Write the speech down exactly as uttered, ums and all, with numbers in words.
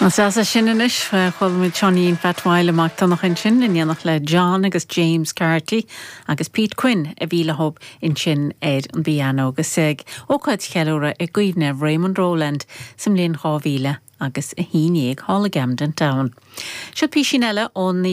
As sin anois chuala muid Seáinín Phat Mhaidhc Mac Donncha ansin in éineacht le John agus James Carty agus Pete Quinn a bhí leo ansin ar an bpianó agus ag ócáid cheiliúradh i gcuimhne Raymond Rowland sa mbliain dhá mhíle agus a haon déag thall i gCamden Town. Seo písín eile ón